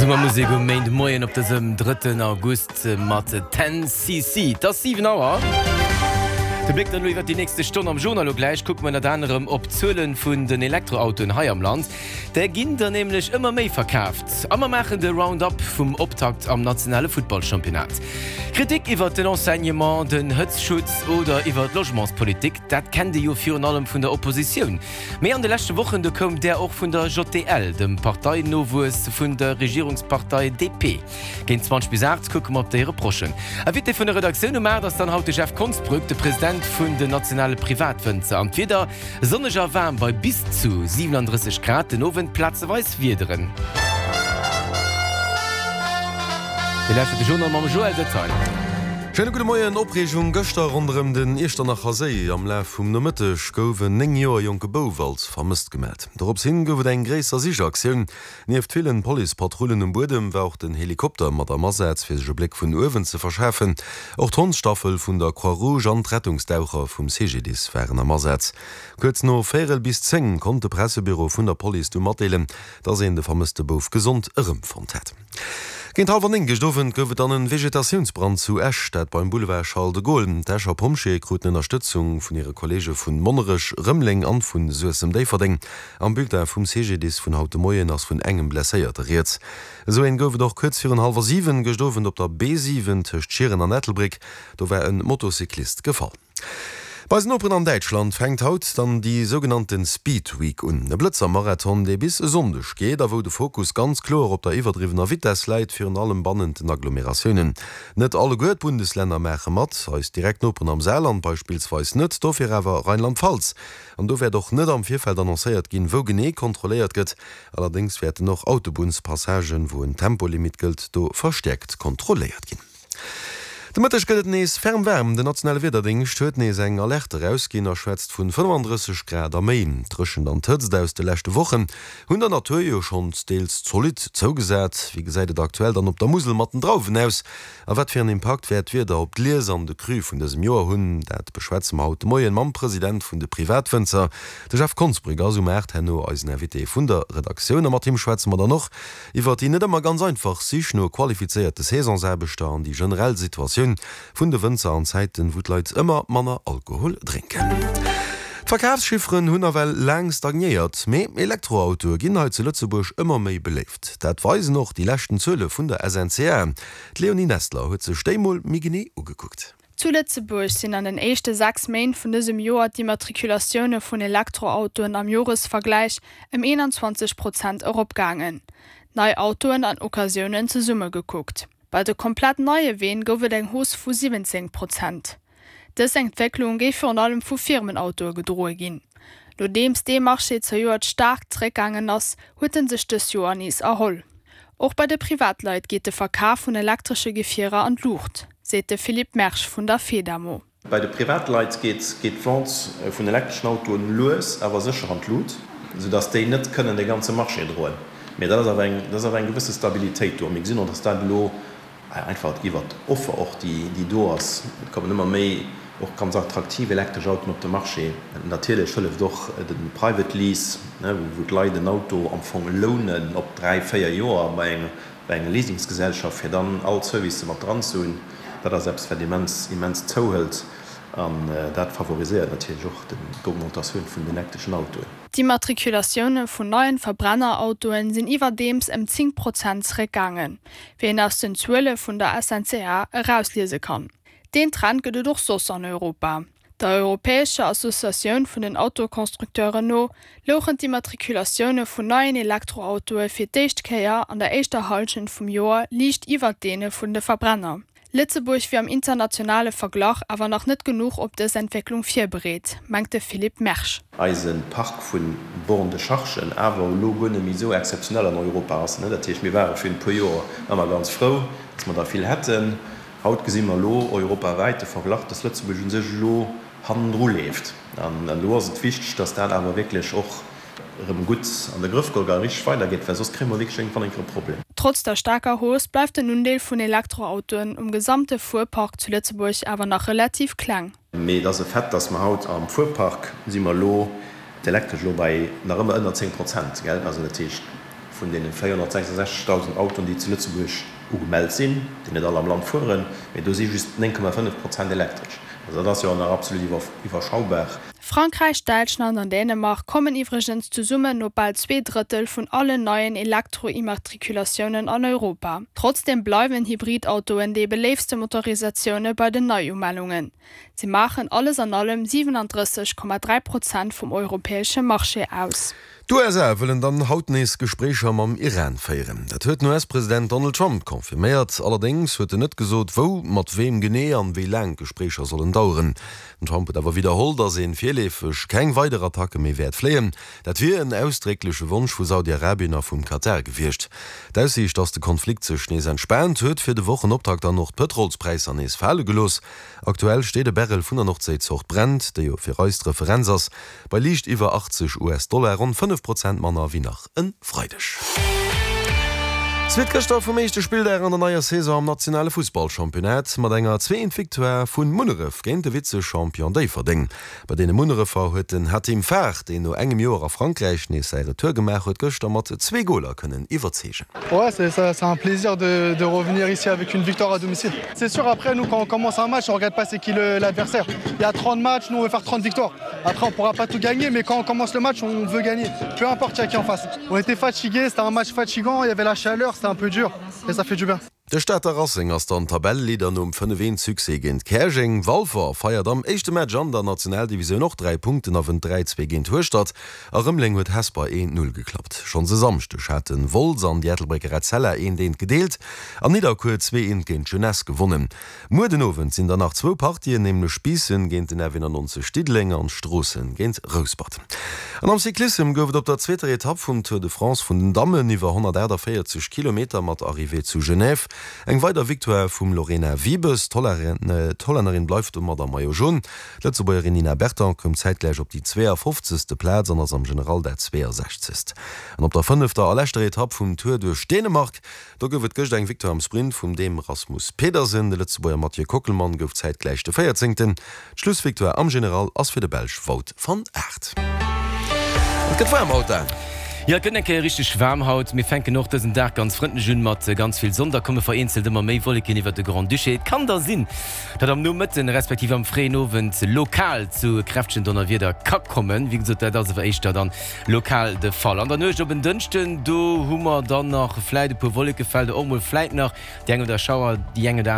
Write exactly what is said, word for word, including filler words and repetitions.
Summermusek um Méindemoien op dësem drëtten August mat Ten CC. Et ass siwen Auer. De Bléck dann elo iwwert déi nächste Stonn am Journal. Elo gläich kucke mer ënnert anerem op d'Zuele vun den Elektroautoen hei am Land. Där ginn der nämlech ëmmer méi verkaaft. A mer maachen de Round-up vum Optakt am nationale Futtballchampionnat. Kritik iwwert den Enseignement, den Hëtzschutz oder iwwer d'Logementspolitik, dat kennt ee jo virun allem vun der Oppositioun. Mee an de leschte Wochen, do koum där och vun der J D L, dem Parteinowuess vun der Regierungspartei D P. Géint zwanzeg bis aacht kucke mer op déi Reprochen. Invité vun der Redaktioun um aacht ass dann haut de Jeff Konsbrück, de President vun den nationale Privatwënzer. An d'Wieder, sonneg a waarm bei bis zu siwenandrësseg Grad, den Owend plazeweis Wiederen. Dir lauschtert de Journal mam Joël Detail. Schéine gudde Moien. Opreegung gëschter ronderëm den Iechternacher Séi. Am Laf vum Nomëtteg gouf en néng Joer jonke Bouf als vermësst gemellt. Dorops hin gouf et eng gréisser Sichaktioun. Nieft villen Policepatrullen um Buedem war och den Helikopter mat am Asaz, fir sech e Bléck vun uewen ze verschafen. Och d'Hondsstaffel vun der Croix-Rouge an d'Rettungsdaucher vum C G D I S waren am Asaz. Kuerz no véierel bis zéng konnt de Pressebüro vun der Police du matdeelen, dass een de vermësste Bouf gesond erëmfonnt hätt. Géint hallwer néng gëscht Owend gouf et dann en Vegetatiounsbrand zu Esch, dat beim Boulevard Charles de Gaulle. D'Escher Pompjeeë kruten Ënnerstëtzung vun hire Kolleege vun Monnerech, Rëmeleng an vun Suessem-Déifferdeng. Am Bulletin vum C G D I S vun haut de Moien ass vun engem Blesséierte rieds. Esou een gouf et och kuerz virun hallwer siwen gëscht Owend op der B siwen tëscht Schieren an Ettelbréck. Do war en Motocyclist gefall. Bei eisen Noperen an Däitschland fänkt haut dann déi sougenannten Speed Week un. E Blëtzer-Marathon, dee bis e Sonndeg geet a wou de Fokus ganz kloer op der iwwerdriwwener Vitess läit, virun allem bannent den Agglomeratiounen. Net alleguer d'Bundeslänner maache mat, eis direkt Noperen am Saarland beispillsweis net, dofir awer Rheinland-Pfalz. An do wäert och net am Virfeld annoncéiert ginn, wou genee kontrolléiert gëtt. Allerdéngs wäerten och Autobunnspassagen, wou en Tempolimit gëllt, do verstäerkt kontrolléiert ginn. De Mëtteg gëtt et nees ferm waarm. Den nationale Wiederdéngscht huet nees eng Alerte erausginn a schwätzt vun fënnefandrësseg Grad a méi. D'Dréchent an d'Hëtzt aus de leschte Wochen hunn der Natur jo schonns deels zolidd zougesat. Wéi gesäit et aktuell dann op der Musel mat den Drauwen aus? A wat fir en Impakt wäert d'Wieder op d'Lies an de Cru vun dësem Joer hunn? Dat beschwätze mer haut de Moien mam President vun de Privatwënzer. De Jeff Konsbrück ass um aacht herno eisen Invité vun der Redaktioun a mat him schwätze mer dann och iwwer déi net ëmmer ganz einfach Sich no qualifizéierte Saisonsaarbechter an déi generell Situatioun vun de Wënzer an Zäiten, wou d'Leit ëmmer manner Alkohol drénken. D'Verkafschifferen hunn nawell laang stagnéiert, mee Elektroautoe ginn hei zu Lëtzebuerg ëmmer méi beléift. Dat weisen och déi leschten Zuele vun der S N C A. D'Leonie Nestler huet sech déi mol méi genee ugekuckt. Zu Lëtzebuerg sinn an den éischte sechs Méint vun dësem Joer d'Immatrikulatioune vun Elektroautoen am Joresvergläich ëm eenanzwanzeg Prozent eropgaangen. Nei Autoen an Occasiounen zesumme gekuckt. Bei de komplett neie Ween gouf et eng Hausse vu siwwenzéng Prozent. Dës Entwécklung géif virun allem vu Firmenautoe gedroe ginn. Nodeems dee Marché zejoert staark zeréckgaangen ass, huet en sech dëst Joer nees erholl. Och bei de Privatleit geet de Verkaf vun elektresche Gefierer an d'Luucht, seet de Philippe Mersch vun der Fedamo. Bei de Privatleit geet geet d'Vente vun elektreschen Autoen lues awer sécher an d'Lut, soudass déi net kënnen de ganze Marché droen. Mee dat ass awer eng, dat ass awer eng gewësse Stabilitéit do. A mir gesinn och, dass dat elo einfach iwwert d'Offer och, déi déi do ass, et kommen ëmmer méi och ganz attraktiv elektresch Autoen op de Marché. Natierlech hëlleft och de Private Lease, wou d'Leit en Auto am Fong lounen op dräi, véier Joer bei eng bei enger Leasingsgesellschaft, fir dann all d'Servicë mat dran ze hunn. Dat ass eppes, wat immens immens zouhëlt an dat favoriséiert natierlech och d'Augmentatioun vun den elektreschen Autoen. D'Immatrikulatioune vun neien Verbrennerautoen sinn iwwerdeems ëm zéng Prozent zeréckgaangen, wéi een aus den Zuele vun der S N C A erausliese kann. Deen Trend gëtt et och soss an Europa. Der europäescher Associatioun vun den Autoconstructeuren no louchen d'Immatrikulatioune vun neien Elektroautoe fir d'éischt Kéier an der éischter Hallschent vum Joer liicht iwwer deene vun de Verbrenner. Lëtzebuerg wier am internationale Verglach awer nach net genuch op dës Entwécklung virbereet, mengt de Philippe Mersch. Eise Park vu Bornes de charge awer elo guer net méi esou exzeptionell an Europa ass. Dat heescht, mir ware virun e puer Joer ëmmer ganz frou, dass mer der vill hätten. Haut gesi mer elo europawäit de Verglach, dass Lëtzebuerg u sech elo hannendru leeft. An elo ass et wichteg, dass dat awer wierklech och erëm gutt an de Grëff geholl gëtt a richteg weidergeet, well soss kréie mer wierklech iergendwann eng Kéier e Problem. Trotz der staarker Hausse bleift den Undeel vun Elektroautoen um gesamte Fuerpark zu Lëtzebuerg awer nach relativ kleng. Mee et ass e Fait, dass mer haut am Fuerpark si mer elo d'Elektresch elo bei nach ëmmer ënner zéng Prozent, gell? Also dat heescht, vun Vun deene véierhonnertsechsundsechzegdausend Autoen, déi zu Lëtzebuerg ugemellt sinn, déi net all am Land fueren, mee do si just néng Komma fënnef Prozent elektresch. Also dat ass jo nach absolut iwwerschaubar. Frankräich, Däitschland an Dänemark kommen iwwregens zesummen op bal zwee Drëttel vun allen neien Elektro-Immatrikulatiounen an Europa. Trotzdeem bleiwen Hybridautoen déi beléiftste Motorisatioune bei den Neiumellungen. Si maachen alles an allem siwenandrësseg Komma dräi Prozent vum europäesche Marché aus. D'USA wëllen dann haut nees Gespréicher mam Iran féieren. Dat huet den U S-President Donald Trump confirméiert. Allerdéngs huet en net gesot, wou, mat weem genee an wéi laang d'Gespréicher sollen daueren. Den Trump huet awer widderholl, datt ee virleefeg keng weider Attacke méi wäert fléien. Dat wier en ausdréckleche Wonsch vu Saudi-Arabien a vum Katar gewiescht. D'Aussiicht, datt de Konflikt sech nees entspaant, huet fir de Wochenoptakt dann och d'Pëtrolspräisser nees fale gelooss. Aktuell steet e Barrel vun der Nordséizort Brent, déi jo fir eis d'Referenz ass, bei liicht iwwer achtzeg U S-Dollar, ronn fënnef Prozent manner wéi nach e Freideg. Suite gëschter vum éischte Spilldag an der neier Saison am nationale Fussballchampionnat mat enger zwee eent Victoire vu Munneref géint de Vize-Champion Déifferdeng. Bei deene Munnerefer huet den Hatim Far, deen no engem Joer a Frankräich nees säi Retour gemaach huet, gëschter mat zwee Goler kënnen iwwerzeegen. Ouais, c'est c'est un plaisir de, de revenir ici avec une victoire à domicile. C'est sûr, après, nous, quand on commence un match, on regarde pas c'est qui l'adversaire. Il y a trente matchs, nous, on veut faire trente victoires. Après, on pourra pas tout gagner, mais quand on commence le match, on veut gagner. Peu importe il y a qui en face. On était fatigués, c'était un match fatigant, il y avait la chaleur, c'était un peu dur, et ça fait du bien. De Stater Racing ass dann Tabelleleader nom fënnef eent Succès géint Käerjeng. Walfer feiert am éischte Match an der Nationaldivisioun och dräi Punkten a wënnt dräi zwee géint Hueschtert. A Rëmeleng huet Hesper eent null geklappt. Schonns e Samschdeg haten Wolz an déi Ettelbrécker Etzella eent eent gedeelt an Nidderkuer huet zwee eent géint d'Jeunesse gewonnen. Muer den Owend sinn dann nach zwou Partien, nämlech Biissen géint den R W nonnenaanzeg Diddeleng an Stroossen géint Rouspert. An am Cyclissem gouf et op der zweeter Etapp vum Tour de France vun den Dammen iwwer honnertaachtavéierzeg Kilometer mat Arrivée zu Genève eng weider Victoire vum Lorena Wiebes. D'Hollännerin bleift domat am Maillot Jaune. D'Lëtzebuergerin Nina Berton koum zäitgläich op déi zweeafofzegste Plaz an ass am General dat zweeasechzegst. An op der fënnefter a leschter Etapp vum Tour duerch Dänemark, do gouf et gëscht eng Victoire am Sprint vum Dän Rasmus Pedersen. De Lëtzebuerger Mathieu Kockelmann gouf zäitgläich de véierzéngten. D'Schlussvictoire am General ass fir de Belsch Wout van Aert. Et gëtt waarm haut, Dan. Jo, et gëtt eng Kéier richteg waarm haut. Mir fänken och dësen Dag ganz frëndlech un mat ganz vill Sonn. Da komme vereenzelt ëmmer méi Wolleken iwwert de Grand-Duché. Et kann da sinn, datt am Nomëtten respektiv am fréien Owend lokal zu kräftegen Donnerwieder ka kommen. Wéi gesot, dat ass awer éischter dann lokal de Fall. An der Nuecht op en Dënschden, do hu mer dann nach vläit e puer Wollekefelder, och mol vläit nach déi eng oder Schauer, déi eng oder aner.